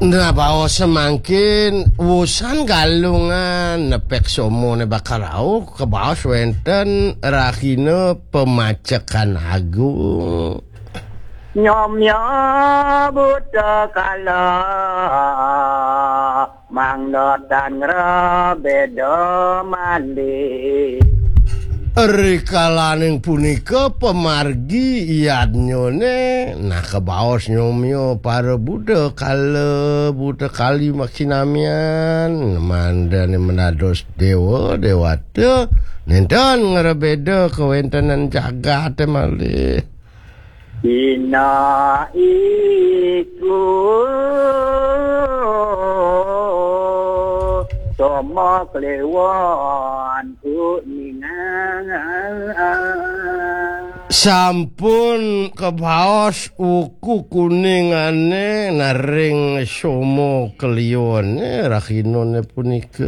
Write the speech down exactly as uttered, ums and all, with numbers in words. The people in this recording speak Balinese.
Nah, baos mangkin wusan Galungan nepek somone bakal rauh, kebaos wenten rahina pemacekan agung. Nyomya buta kala mangda tan ngrabeda mandi. Rikalaning punika pamargi yadnyane, nah, kebaos nyomya para buta kala, buta kali makinamian, mandane menados dewa, dewata, nenten ngrabeda kawentenan jagate malih. Ina iku Toma Kliwon Kuningan. Sampun kebaos wuku kuningane nering somo kliwone rahinane punika.